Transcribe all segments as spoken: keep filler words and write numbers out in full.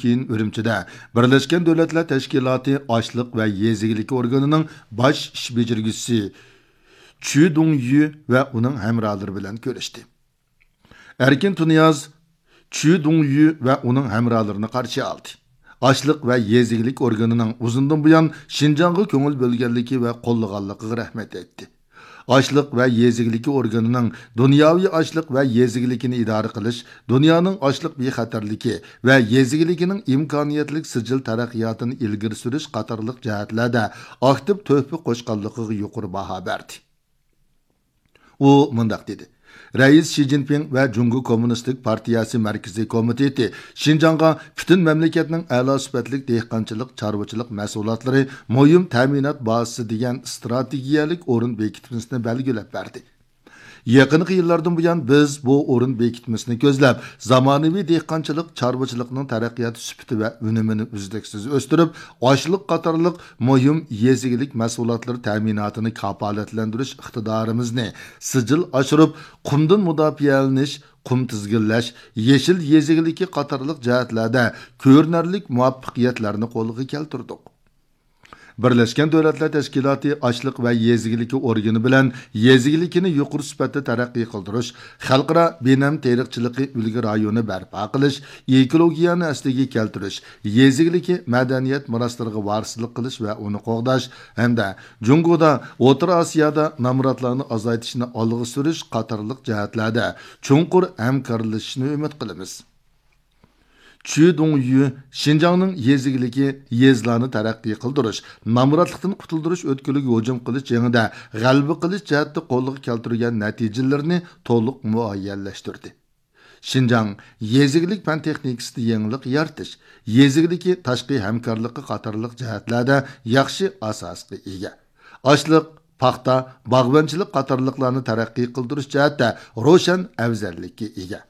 كېيىن ئۈرۈمچىدە بىرلەشكەن دۆلەتلەر تەشكىلاتى ئاشلىق ۋە يېزا ئىگىلىكى ئورگىنىنىڭ باش ئىش بېجىرگۈچىسى چۈ دۇڭيۈ ۋە ئۇنىڭ ھەمراھلىرى بىلەن كۆرۈشتى. ئەركىن تۇنىياز چۈ دۇڭيۈ ۋە ئۇنىڭ ھەمراھلىرىنى قارشى ئالدى. ئاشلىق ۋە يېزا ئىگىلىك ئورگىنىنىڭ ئۇزۇندىن بۇيان شىنجاڭغا كۆڭۈل بۆلگەنلىكى ۋە قوللىغانلىقىغا رەھمەت ئېيتتى. ئاشلىق ۋە يېزا ئىگىلىكى ئورگىنىنىڭ دۇنياۋى ئاشلىق ۋە يېزا ئىگىلىكىنى ئىدارە قىلىش، دۇنيانىڭ ئاشلىق بىخەتەرلىكى ۋە يېزا ئىگىلىكىنىڭ ئىمكانىيەتلىك سىجىل تەرەققىياتىنى ئىلگىرى سۈرۈش قاتارلىق جەھەتلەردە ئاكتىپ تۆھپە قوشقانلىقىغا يۇقىرى باھا بەردى. ئۇ مۇنداق دېدى: رەئىس شى جىنپىڭ ۋە جۇڭگو كوممۇنىستىك پارتىيەسى مەركىزىي كومىتېتى شىنجاڭغا پۈتۈن مەملىكەتنىڭ ئەلا سۈپەتلىك دېھقانچىلىق، چارۋىچىلىق مەھسۇلاتلىرى مۇھىم تەمىنات بازىسى دېگەن ئىستراتېگىيەلىك ئورۇن بېكىتمىسىنى بەلگىلەپ بەردى. يېقىنقى يىللاردىن بۇيان، بىز بۇ ئورۇن بېكىتمىسىنى كۆزلەپ، زامانىۋى دېھقانچىلىق، چارۋىچىلىقنىڭ تەرەققىيات سۈپىتى ۋە ئۈنۈمىنى ئۈزلۈكسىز ئۆستۈرۈپ، ئاشلىق قاتارلىق مۇھىم يېزا ئىگىلىك مەھسۇلاتلىرى تەمىناتىنى كاپالەتلەندۈرۈش ئىقتىدارىمىزنى سىجىل ئاشۇرۇپ، قۇمدىن مۇداپىئەلىنىش، قۇم تىزگىنلەش، يېشىل يېزا ئىگىلىكى قاتارلىق جەھەتلەردە كۆرۈنەرلىك مۇۋەپپەقىيەتلەرنى قولغا كەلتۈردۇق. بىرلەشكەن دۆلەتلەر تەشكىلاتى ئاشلىق ۋە يېزا ئىگىلىكى ئورگىنى بىلەن يېزا ئىگىلىكىنى يۇقىرى سۈپەتتە تەرەققىي قىلدۇرۇش، خەلقئارا بىنەم تېرىقچىلىقى ئۈلگە رايونى بەرپا قىلىش، ئېكولوگىيەنى ئەسلىگە كەلتۈرۈش، يېزا ئىگىلىكى مەدەنىيەت مىراسلىرىغا ۋارىسلىق قىلىش ۋە ئۇنى قوغداش ھەمدە جۇڭگودا، ئوتتۇرا ئاسىيادا نامراتلارنى ئازايتىشنى ئالغا سۈرۈش قاتارلىق جەھەتلەردە چوڭقۇر ھەمكارلىشىشنى ئۈمىد قىلىمىز. چۈ دۇڭيۈ شىنجاڭنىڭ يېزا ئىگىلىكى، يېزىلارنى تەرەققىي قىلدۇرۇش، نامراتلىقتىن قۇتۇلدۇرۇش ئۆتكىلىگە ھۇجۇم قىلىش جېڭىدە غەلىبە قىلىش جەھەتتە قولغا كەلتۈرگەن نەتىجىلىرىنى تولۇق مۇئەييەنلەشتۈردى. شىنجاڭ يېزا ئىگىلىك پەن تېخنىكىسىدا يېڭىلىق يارىتىش، يېزا ئىگىلىكى تاشقى ھەمكارلىقى قاتارلىق جەھەتلەردە ياخشى ئاساسقا ئىگە. ئاشلىق، پاختا، باغۋەنچىلىك قاتارلىقلارنى تەرەققىي قىلدۇرۇش جەھەتتە روشەن ئەۋزەللىككە ئىگە.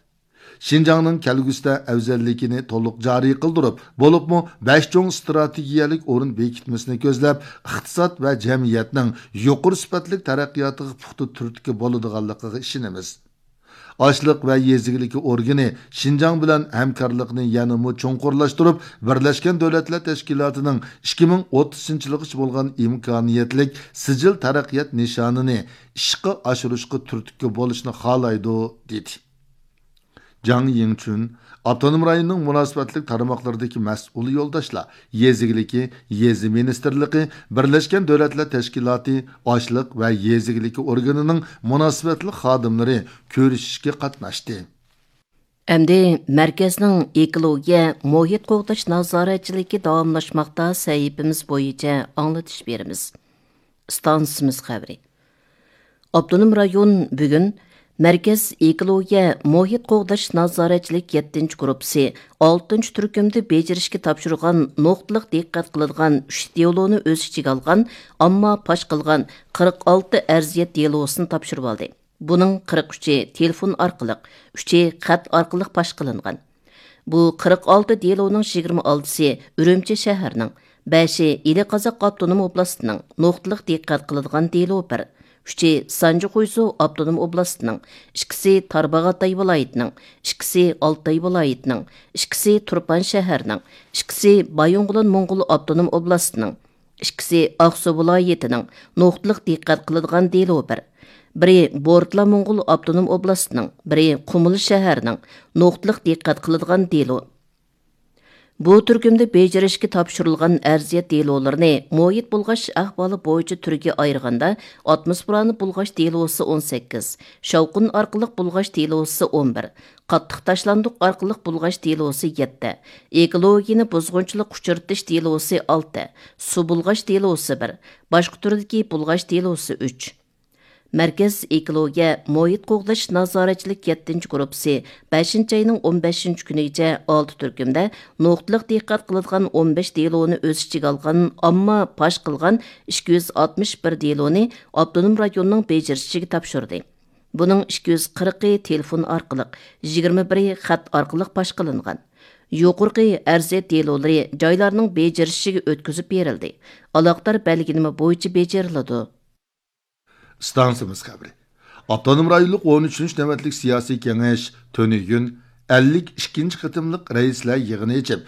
شىنجاڭنىڭ كەلگۈسىدە ئەۋزەللىكىنى تولۇق جارى قىلدۇرۇپ، بولۇپمۇ بەش چوڭ ئىستراتېگىيەلىك ئورۇن بېكىتمىسىنى كۆزلەپ، ئىقتىساد ۋە جەمئىيەتنىڭ يۇقىرى سۈپەتلىك تەرەققىياتىغا پۇختا تۈرتكە بولىدىغانلىقىغا ئىشىنىمىز. ئاشلىق ۋە يېزا ئىگىلىكى ئورگىنى شىنجاڭ بىلەن ھەمكارلىقنى يەنىمۇ چوڭقۇرلاشتۇرۇپ، بىرلەشكەن دۆلەتلەر تەشكىلاتىنىڭ ئىككى مىڭ ئوتتۇزىنچى يىلغىچە بولغان ئىمكانىيەتلىك سىجىل تەرەققىيات نىشانىنى ئىشقا ئاشۇرۇشقا تۈرتكە بولۇشنى خالايدۇ، دېدى. جاڭ يىڭچۈن ئاپتونوم رايوننىڭ مۇناسىۋەتلىك تارماقلىرىدىكى مەسئۇل يولداشلار، يېزا ئىگىلىكى، يېزا مىنىستىرلىقى، بىرلەشكەن دۆلەتلەر تەشكىلاتى ئاشلىق ۋە يېزا ئىگىلىكى ئورگىنىنىڭ مۇناسىۋەتلىك خادىملىرى كۆرۈشۈشكە قاتناشتى. ئەمدى مەركەزنىڭ ئېكولوگىيە، مۇھىت قوغداش نازارەتچىلىكى داۋاملاشماقتا سەھىپىمىز بويىچە ئاڭلىتىش بېرىمىز. ئىستانسىمىز خەۋىرى. ئاپتونوم رايون بۈگۈن مەركەز ئېكولوگىيە، مۇھىت قوغداش نازارەتچىلىك يەتتىنچى گۇرۇپپىسى ئالتىنچى تۈركۈمدە بېجىرىشكە تاپشۇرغان نۇقتىلىق دىققەت قىلىدىغان ئۈچ دېلونى ئۆز ئىچىگە ئالغان ئامما پاش قىلغان قىرىق ئالتە ئەرزىيەت دېلوسىنى تاپشۇرۇۋالدى. بۇنىڭ قىرىق ئۈچى تېلېفون ئارقىلىق، ئۈچى خەت ئارقىلىق پاش قىلىنغان. بۇ قىرىق ئالتە دېلونىڭ يىگىرمە ئالتىسى ئۈرۈمچى شەھىرىنىڭ، بەشى ئىلى قازاق ئاپتونوم ئوبلاستىنىڭ، نۇقتىلىق دىققەت قىلىدىغان دېلو بىر، ئۈچى سانجى خۇيزۇ ئاپتونوم ئوبلاستىنىڭ، ئىككىسى تارباغاتاي ۋىلايىتىنىڭ، ئىككىسى ئالتاي ۋىلايىتىنىڭ، ئىككىسى تۇرپان شەھىرىنىڭ، ئىككىسى بايىنغولىن موڭغۇل ئاپتونوم ئوبلاستىنىڭ، ئىككىسى ئاقسۇ ۋىلايىتىنىڭ، نۇقتىلىق دىققەت قىلىدىغان دېلو بىر، بىرى بورتلا موڭغۇل ئاپتونوم ئوبلاستىنىڭ، بىرى قۇمۇل شەھەرنىڭ، نۇقتىلىق دىققەت قىلىدىغان دېلو. بۇ تۈركۈمدە بېجىرىشكە تاپشۇرۇلغان ئەرزىيەت دېلولىرىنى مۇھىت بۇلغاش ئەھۋالى بويىچە تۈرگە ئايرىغاندا، ئاتموسفېرانى بۇلغاش دېلوسى ئون سەككىز، شاۋقۇن ئارقىلىق بۇلغاش دېلوسى ئون بىر، قاتتىق تاشلاندۇق ئارقىلىق بۇلغاش دېلوسى يەتتە، ئېكولوگىيەنى بۇزغۇنچىلىققا ئۇچرىتىش دېلوسى ئالتە، سۇ بۇلغاش دېلوسى بىر، باشقا تۈردىكى بۇلغاش دېلوسى ئۈچ. مەركەز ئېكولوگىيە، مۇھىت قوغداش نازارەتچىلىك يەتتىنچى گۇرۇپپىسى بەشىنچى ئاينىڭ ئون بەشىنچى كۈنىگىچە ئالتە تۈركۈمدە نۇقتىلىق دىققەت قىلىدىغان ئون بەش دېلونى ئۆز ئىچىگە ئالغان ئامما پاش قىلغان ئىككى يۈز ئاتمىش بىر دېلونى ئاپتونوم رايوننىڭ بېجىرىشىگە تاپشۇردى. بۇنىڭ ئىككى يۈز قىرىقى تېلېفون ئارقىلىق، يىگىرمە بىرى خەت ئارقىلىق پاش قىلىنغان. يۇقىرىقى ئەرزىيەت دېلولىرى جايلارنىڭ بېجىرىشىگە ئۆتكۈزۈپ بېرىلدى. ئالاقىدار بەلگىلىمە بويىچە بېجىرىلىدۇ. ئىستانسىمىز خەۋىرى. ئاپتونوم رايونلۇق ئون ئۈچىنچى نۆۋەتلىك سىياسىي كېڭەش تۈنۈگۈن ئەللىك ئىككىنچى قېتىملىق رەئىسلەر يىغىنى ئېچىپ،